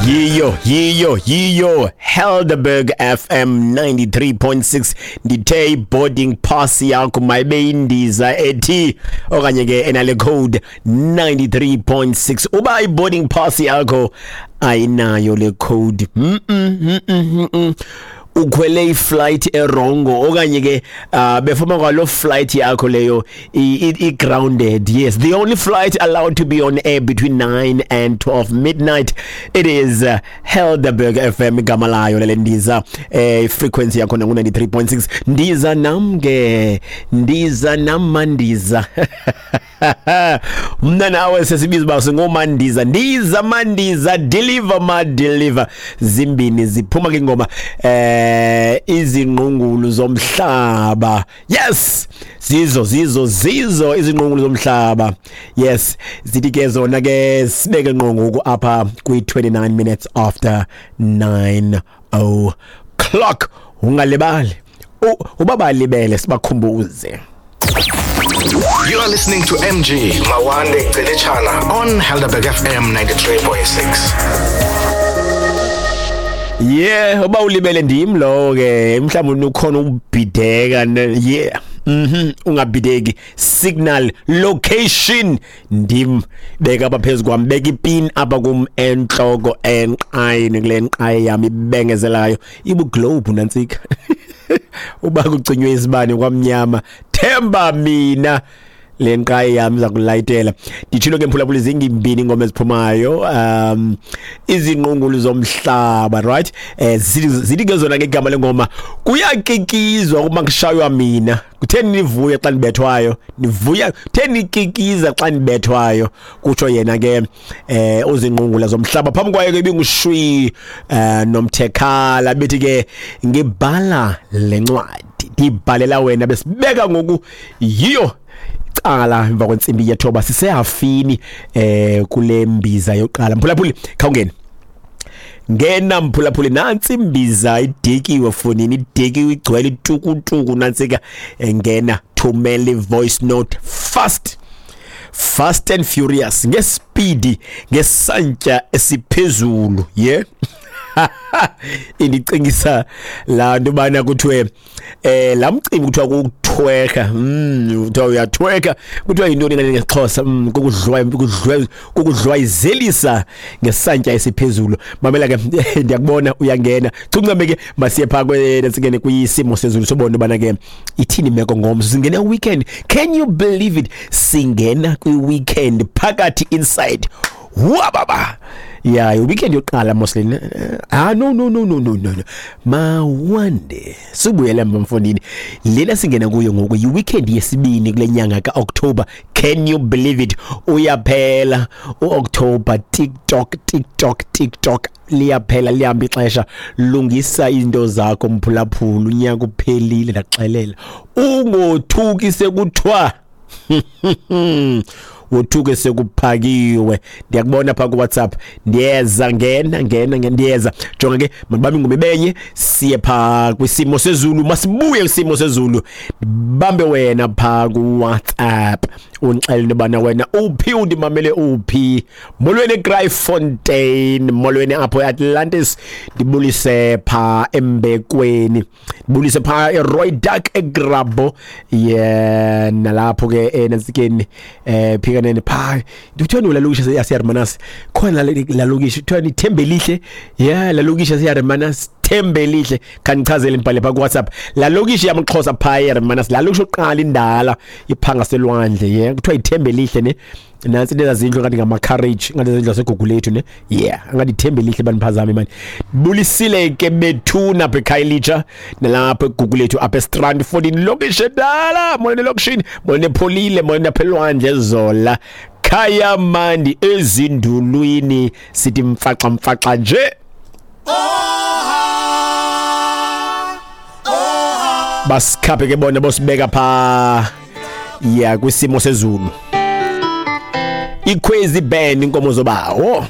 Yiyo, yiyo, yiyo, Helderberg FM 93.6. Ndithe i-boarding pass yakho mayibe indiza ethi okanye ke enale code 93.6. Uba i-boarding pass yakho ayinayo le code, ukhwele iflight erongo okanye ke befoma kwalo flight yakho leyo i-grounded. Yes, the only flight allowed to be on air between 9 and 12 midnight, it is Helderberg FM igama layo lele ndiza, frequency yakho nangu 93.6. Ndiza nam ke, ndiza nam mandiza. Mna nawe sesibiza uba singomandiza. Ndiza mandiza, deliver ma deliver. Zimbini ziphuma ke ingoma, izingqungulu zomhlaba. Yes, zizo zizo zizo izingqungulu zomhlaba. Yes, zithi ke zona ke sibeke ngqo ngoku apha kwi 29 minutes after 9 o'clock. Ungalibali, ubabalibele sibakhumbuze. You are listening to MG Mawande Celichana on Helderberg FM 93.6. Yeah, uba ulibele ndim lowo ke, mhlawumbe ukhona ubhideka. Yeah. Ungabhideki, signal location ndim, beka apha phezu kwam, beka ipin apha kum entloko enqayini kule nqayi yam ibengezelayo ibuglobe nantsika. Uba kucinywe isibane kwamnyama, themba mina, le nqayi yam iza kulayitela. Nditshilo ke mphulaphula, zingimbini ingoma eziphumayo, izingqungulu zomhlaba, right? Zithi ke zona ke igama lengoma kuyakikizwa uma kushaywa mina. Kutheni nivuya xa nibethwayo? Nivuya kutheni nikikiza xa nibethwayo? Kutsho yena ke uzingqungula zomhlaba. Phambi kwayo ke ibingushwi nomthekhala, bethi ke ngibhala lencwadi ndibhalela wena. Besibeka ngoku yiyo cala emva kwentsimbi yethoba, sisehafini kule mbiza yokuqala. Mphulaphuli, khawungene, ngena mphulaphuli, nantsi imbiza idikiwe fonini, idikiwe igcwele itukutuku nantsika. Ngena, thumela i-voice note fast, fast and furious, ngespeed, ngesantya esiphezulu. Yeah, indicingisa laa nto bana kuthiwe laa mcimbi kuthiwa kukuthweka, kuthiwa uyathweka, kuthiwa yintoni ngale ngesiXhosa? Kukudlwayizelisa ngesantya esiphezulu. Mamela ke, ndiyakubona uyangena. Chuncame ke, masiye phaa singene kwisimo sezulu, sobona ubana ke ithini imeko ngomso. Singena weekend, can you believe it? Singena kwi-weekend phakathi inside wababa. Yeah, weekend yokuqala moslin. Ah, no, no, no, no, no, no, no, mawande sibuyele emva mfondini. Lena singena kuyo ngoku yi-weekend yesibini kule nyanga ka-October. Can you believe it? Uyaphela u-October. Tick tock, tick tock, tick tock, liyaphela, lihamba ixesha. Lungisa izinto zakho mphulaphula, unyaka uphelile, ndaxelela. Ungothuki sekuthiwa, wothuke sekuphakiwe. Ndiyakubona phaa kuWhatsApp, ndiyeza, ngena, ngena, ngena, ndiyeza. Jonga ke, mandibambe ingoma ibenye, siye phaa kwisimo sezulu. Masibuye kwisimo sezulu, bambe wena phaa kuWhatsApp, undixelele into yobana wena uphi, undimamele uphi. Molweni eGraaifontein, molweni apho eAtlantis, ndibulise phaa Embekweni, ndibulise phaa eRooidak, eGrabbo, yeah, nalapho ke enantsikeni, phikanene phaa. Kuthiwa la lokishi yaseHermanus khona, la lokishi kuthiwa Thembelihle. Yeah, la lokishi yaseHermanus, Thembelihle. Khanichazele, ndibhale phaa kuWhatsApp, la lokishi yamaXhosa phaa eHermanus, la lokishi oqala indala iphanga selwandle. Yeah, kuthiwa iThembelihle ne. Nantsi into ezazindlu ngathi ngama-carriage, ngathi zindlu zaseGugulethu ne. Yeah, ngathi iThembelihle, baniphazame mani. Bulisile ke bethuna apha eKhayelitsha nalapha eGugulethu, apha eStrand 14, lokishi edala. Molweni elokishini, molweni epholile, molweni apha elwandle zola khaya mandi ezindulwini, sithi mfaxa mfaxa nje. Basikhaphe ke bona, bosibeka phaa ya kwisimo sezulu. Ikhwezi Band, inkomo zobawo.